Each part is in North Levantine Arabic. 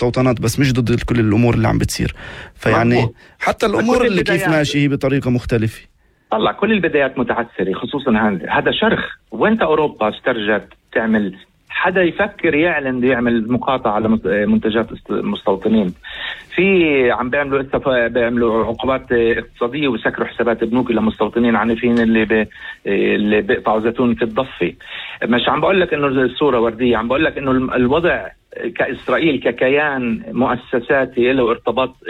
المستوطنات بس مش ضد كل الأمور اللي عم بتصير. فيعني حتى الأمور اللي كيف ماشي هي بطريقة مختلفة. طلع كل البدايات متعثرة، خصوصا هذا شرخ. وانت أوروبا استرجت تعمل، حدا يفكر يعلن بده يعمل مقاطعة على منتجات المستوطنين. في عم بيعملوا عقوبات اقتصادية ويسكروا حسابات بنوك لمستوطنين عنيفين اللي بيقطعوا زيتون في الضفة. مش عم بقول لك انه الصورة وردية، عم بقول لك انه الوضع كإسرائيل ككيان مؤسساتي له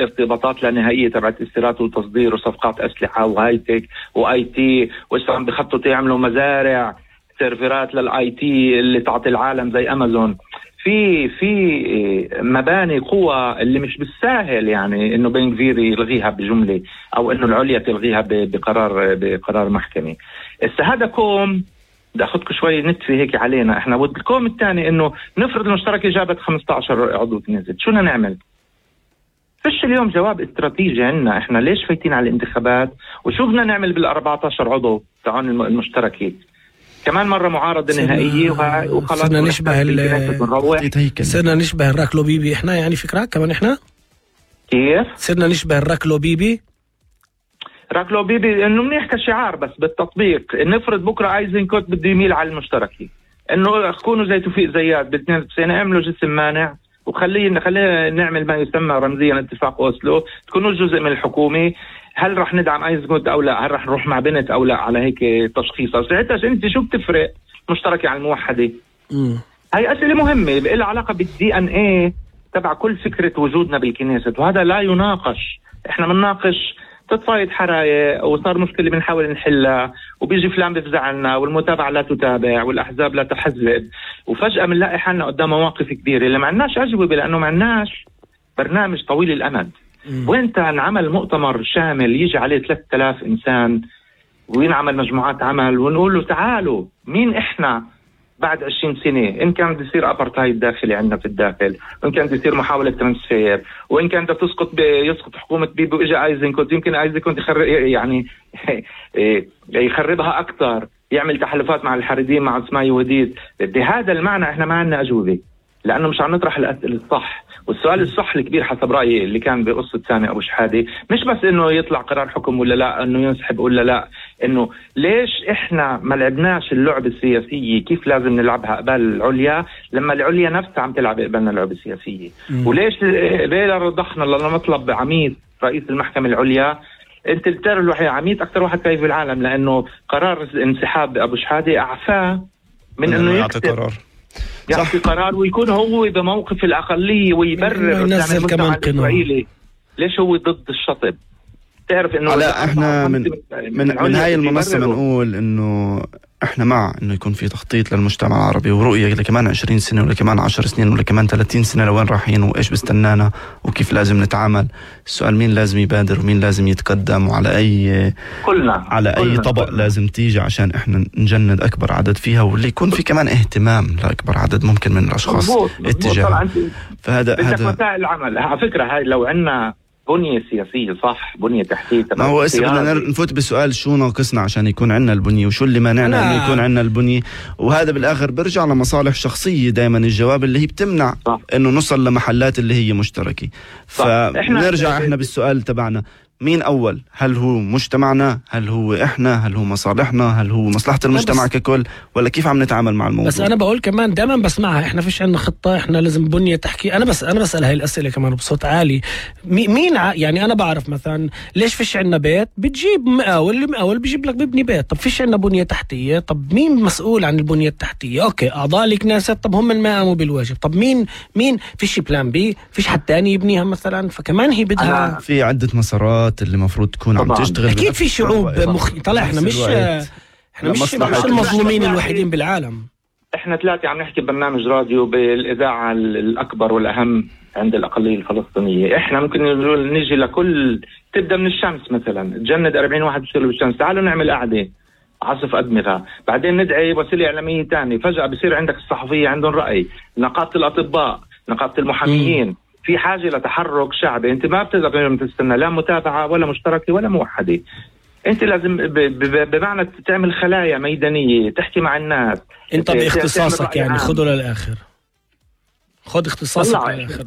ارتباطات لا نهائية تبعت استيراد وتصدير وصفقات أسلحة وهايتك واي تي، وإسا عم بخططوا يعملوا مزارع سيرفرات للاي تي اللي تعطي العالم زي امازون. في مباني قوة اللي مش بالساهل يعني انه بن غفير يلغيها بجملة او انه العليا تلغيها بقرار محكمي. هذا كوم بدي اخذكم شوي نتفي هيك علينا احنا. والكوم الثاني انه نفرض المشتركة جابت 15 عضو نزلت، شو بدنا نعمل؟ فيش اليوم جواب استراتيجي عنا احنا ليش فايتين على الانتخابات، وشو بدنا نعمل بال14 عضو تاعون المشتركة. كمان مرة معارضة نهائية وخلاص صرنا نشبه الراكلو بيبي احنا، يعني فكرة كمان احنا كيف صرنا نشبه الراكلو بيبي. راكلو بيبي انه منيح كشعار، بس بالتطبيق نفرض بكرة ايزنكوت بده يميل على المشتركة، انه كونوا زي توفيق زياد ب92 اعملوا جسم مانع وخلينا نعمل ما يسمى رمزيا اتفاق اوسلو، تكونوا جزء من الحكومة. هل رح ندعم ايزنكوت او لا؟ هل رح نروح مع بنت او لا؟ على هيك تشخيص. ساعتها انت شو بتفرق مشتركة عن الموحدة؟ هاي اسئلة مهمة لها علاقة بالدي ان ايه تبع كل فكرة وجودنا بالكنيسة، وهذا لا يناقش. احنا بنناقش تتصايد حرايق وصار مشكلة بنحاول نحلها، وبيجي فلان بفزعلنا والمتابعة لا تتابع والأحزاب لا تحزب، وفجأة بنلاقي حالنا قدام مواقف كبيرة اللي ما عندناش أجوبة لأنه ما عندناش برنامج طويل الأمد. وانت نعمل مؤتمر شامل يجي عليه 3000 إنسان وينعمل مجموعات عمل ونقول له تعالوا مين إحنا بعد 20 سنة، إن كان بده يصير أبرتايد داخلي عندنا في الداخل، وإن كان بده يصير محاولة ترانسفير، وإن كان بده يسقط حكومة بيبي وإجا ايزنكوت، يمكن ايزنكوت يخربها أكثر، يعمل تحالفات مع الحريدين مع اسماعيل وديد. بهذا المعنى إحنا ما عندنا أجوبة، لأنه مش عم نطرح الأسئلة الصح. والسؤال الصح الكبير حسب رأيي اللي كان بقصة سامي أبو شحادة مش بس إنه يطلع قرار حكم ولا لا، إنه ينسحب ولا لا، إنه ليش إحنا ما لعبناش اللعبة السياسية كيف لازم نلعبها قبل العليا لما العليا نفسها عم تلعب قبلنا اللعبة السياسية. وليش ليه رضخنا لمطلب عميد رئيس المحكمة العليا؟ أنت التار الوحيد عميد أكثر واحد كيف بالعالم، لأنه قرار انسحاب أبو شحادة أعفاه من إنه يعطي قرار ويكون هو بموقف الأقلية ويبرر ينزل كمان قانون. ليش هو ضد الشطب؟ تعرف إنه لا احنا من هاي المنصة بنقول إنه احنا مع إنه يكون في تخطيط للمجتمع العربي ورؤية لكمان 20 سنة ولا كمان 10 سنين ولا كمان 30 سنة لوين رايحين وإيش بستنانا وكيف لازم نتعامل. السؤال مين لازم يبادر ومين لازم يتقدم وعلى أي أي طبق لازم تيجي عشان احنا نجند أكبر عدد فيها، واللي يكون في كمان اهتمام لأكبر عدد ممكن من الأشخاص اتجاه. فهذا وسائل العمل على فكرة هاي لو عنا بنية سياسية صح، بنية تحتية. ما هو بدنا نفوت بسؤال شو ناقصنا عشان يكون عنا البنية وشو اللي مانعنا انه يكون عنا البنية، وهذا بالاخر برجع لمصالح شخصية دائما الجواب اللي هي بتمنع صح. انه نوصل لمحلات اللي هي مشتركة. فنرجع احنا بالسؤال تبعنا مين أول؟ هل هو مجتمعنا؟ هل هو إحنا؟ هل هو مصالحنا؟ هل هو مصلحة المجتمع ككل؟ ولا كيف عم نتعامل مع الموضوع؟ بس أنا بقول كمان دائما بسمعها إحنا فيش عنا خطة، إحنا لازم بنية تحكي. أنا بسأل هاي الأسئلة كمان بصوت عالي. مين يعني أنا بعرف مثلا ليش فيش عنا بيت؟ بتجيب مقاول بيجيب لك ببني بيت. طب فيش عنا بنية تحتية؟ طب مين مسؤول عن البنية التحتية؟ أوكي أعضاء الكنيسة، طب هم ما قاموا بالواجب. طب مين فيش بلان بي؟ فيش حد تاني يبنيها مثلا؟ فكمان هي بدها في عدة مسارات اللي مفروض تكون عم تشتغل. أكيد في شعوب طلع احنا مش المظلومين الوحيدين بالعالم. احنا ثلاثة عم نحكي ببرنامج راديو بالإذاعة الأكبر والأهم عند الأقلية الفلسطينية. احنا ممكن نيجي لكل تبدأ من الشمس مثلا تجند 40 واحد بيشتغلوا بالشمس، تعالوا نعمل قعدة عصف أدمغة، بعدين ندعي وسيلة إعلامية تاني، فجأة بصير عندك الصحفية عندهم رأي، نقابة الأطباء، نقابة المحاميين. في حاجة لتحرك شعبي. انت ما بتقدر تستنى لا متابعة ولا مشتركة ولا موحدة. انت لازم بمعنى تعمل خلايا ميدانية، تحكي مع الناس. انت باختصاصك يعني خذوا للآخر. خد اختصاصك للآخر.